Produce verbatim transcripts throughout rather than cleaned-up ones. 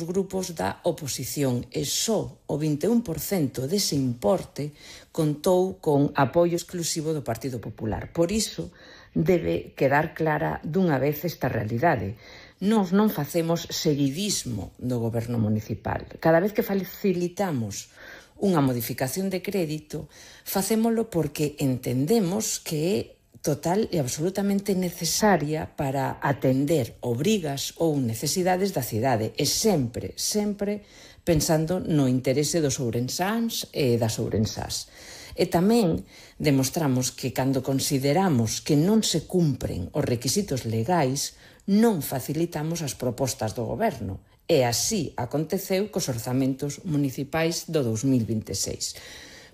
grupos da oposición e só o vinte e un por cento dese importe contou con apoio exclusivo do Partido Popular. Por iso debe quedar clara dunha vez esta realidade. Nós non facemos seguidismo do goberno municipal. Cada vez que facilitamos unha modificación de crédito, facémolo porque entendemos que é total e absolutamente necesaria para atender obrigas ou necesidades da cidade e sempre, sempre pensando no interese dos ourensáns e das ourensás. E tamén demostramos que cando consideramos que non se cumpren os requisitos legais, non facilitamos as propostas do goberno. E así aconteceu cos orzamentos municipais do dous mil vinte e seis.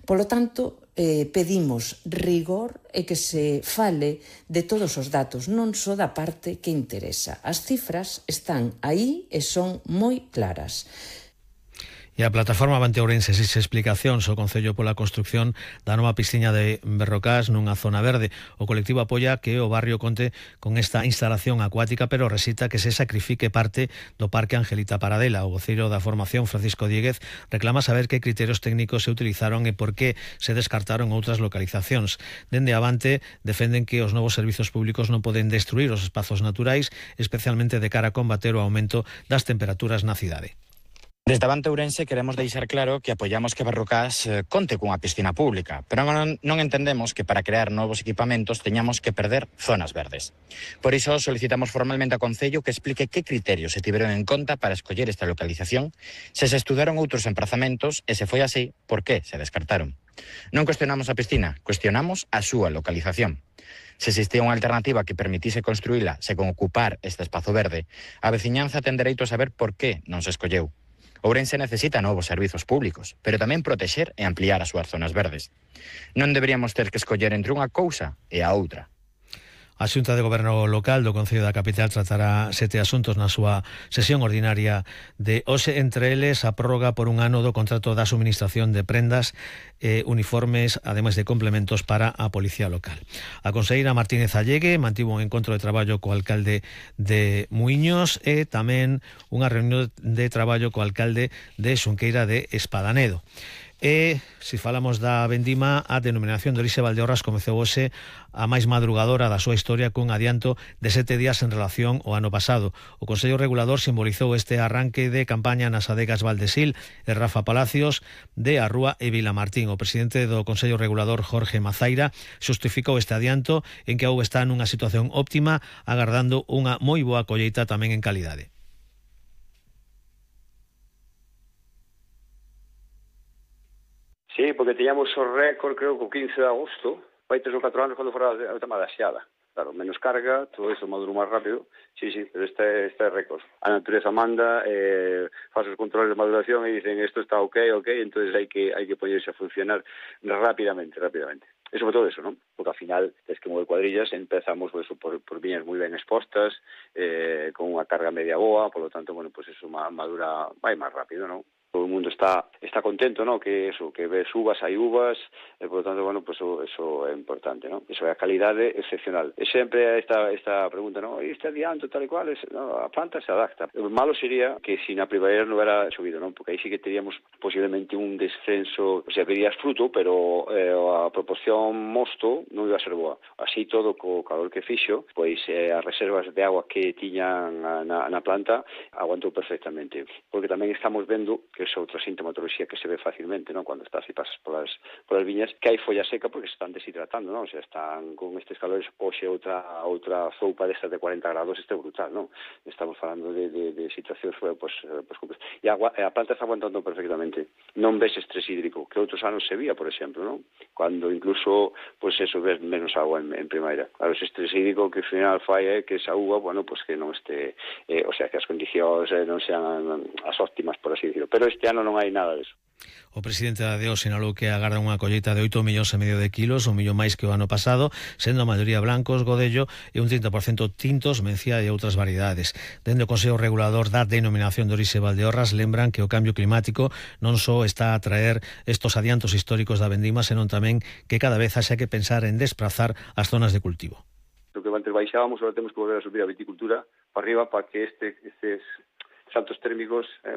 Polo tanto, eh, pedimos rigor e que se fale de todos os datos, non só da parte que interesa. As cifras están aí e son moi claras. E a plataforma Avante Ourense exixe explicacións ao Concello pola construción da nova piscina de Berrocás nunha zona verde. O colectivo apoia que o barrio conte con esta instalación acuática, pero resita que se sacrifique parte do Parque Angelita Paradela. O voceiro da formación, Francisco Dieguez, reclama saber que criterios técnicos se utilizaron e por que se descartaron outras localizacións. Dende Avante defenden que os novos servizos públicos non poden destruir os espazos naturais, especialmente de cara a combater o aumento das temperaturas na cidade. Desde Avante Ourense queremos deixar claro que apoiamos que Berrocás eh, conte cunha piscina pública, pero non, non entendemos que para crear novos equipamentos teñamos que perder zonas verdes. Por iso solicitamos formalmente ao Concello que explique que criterios se tiveron en conta para escoller esta localización, se se estudaron outros emprazamentos e se foi así, por que se descartaron. Non cuestionamos a piscina, cuestionamos a súa localización. Se existía unha alternativa que permitise construíla sen ocupar este espazo verde, a veciñanza ten dereito a saber por que non se escolleu. Ourense necesita novos servizos públicos, pero tamén protexer e ampliar as súas zonas verdes. Non deberíamos ter que escoller entre unha cousa e a outra. A Xunta de Goberno Local do Concello da Capital tratará sete asuntos na súa sesión ordinaria de hoxe, entre eles a prórroga por un ano do contrato da suministración de prendas e uniformes, ademais de complementos para a Policía Local. A conselleira Martínez Allegue mantivo un encontro de traballo co alcalde de Muiños e tamén unha reunión de traballo co alcalde de Xunqueira de Espadanedo. E, se falamos da vendima, a denominación de orixe Valdeorras comezou hoxe a máis madrugadora da súa historia cun adianto de sete días en relación ao ano pasado. O Consello Regulador simbolizou este arranque de campaña nas adegas Valdesil e Rafa Palacios de Arrúa e Vilamartín. O presidente do Consello Regulador, Jorge Mazaira, xustificou este adianto en que a uva está nunha situación óptima, agardando unha moi boa colleita tamén en calidade. Sí, porque teñamos o récord, creo, co quince de agosto, vai tres ou catro anos cando fora o tema da xeada. Claro, menos carga, todo iso maduro máis rápido. Sí, sí, pero este, este é récord. A natureza manda, eh, faz os controles de maduración e dicen isto está ok, ok, entonces hai que hai que poñerse a funcionar rápidamente, rápidamente. E sobre todo eso, ¿no? Porque ao final, es que mover cuadrillas, empezamos pues, por, por viñas moi ben expostas, eh, con unha carga media boa, por lo tanto, bueno, pues eso madura, vai máis rápido, ¿no? Todo o mundo está está contento, ¿no? Que eso, que ves uvas, hai uvas, e por lo tanto, bueno, pues eso, eso é importante, ¿no? Eso é a calidade excepcional. E sempre esta esta pregunta, ¿no? Este adianto tal e cual, es, no, a planta se adapta. O malo sería que si na primavera non hubiera chovido, ¿no? Porque aí sí que teríamos posiblemente un descenso, o sea, verías fruto, pero eh, a proporción mosto non iba a ser boa. Así todo, co calor que fixo, pois eh, as reservas de agua que tiñan na, na planta aguantou perfectamente. Porque tamén estamos vendo que é outra sintomatoloxía que se ve facilmente, ¿no? Cuando estás e pasas polas, polas viñas, que hai folla seca porque se están deshidratando, ¿no? O sea, están con estes calores, hoxe outra outra soupa destas de cuarenta grados, este é brutal, ¿no? Estamos falando de, de, de situacións, pues, pues, pues, e a, a planta está aguantando perfectamente. Non ves estrés hídrico, que outros anos se vía, por exemplo, ¿no? Cuando incluso, pues eso, ves menos agua en, en primavera. Claro, ese estrés hídrico que ao final fai é que esa uva, bueno, pues que non este, eh, o sea, que as condicións eh, non sean as óptimas, por así decirlo. Pero este ano non hai nada disso. O presidente da D E O sinalou que agarda unha colleita de oito millóns e medio de kilos, un millón máis que o ano pasado, sendo a maioría blancos, godello e un trinta por cento tintos, mencía e outras variedades. Dende o Consello Regulador da Denominación de Orixe Valdeorras lembran que o cambio climático non só está a traer estos adiantos históricos da vendima, senón tamén que cada vez haxa que pensar en desplazar as zonas de cultivo. Lo que antes baixábamos, agora temos que volver a subir a viticultura para arriba para que este, estes saltos térmicos eh,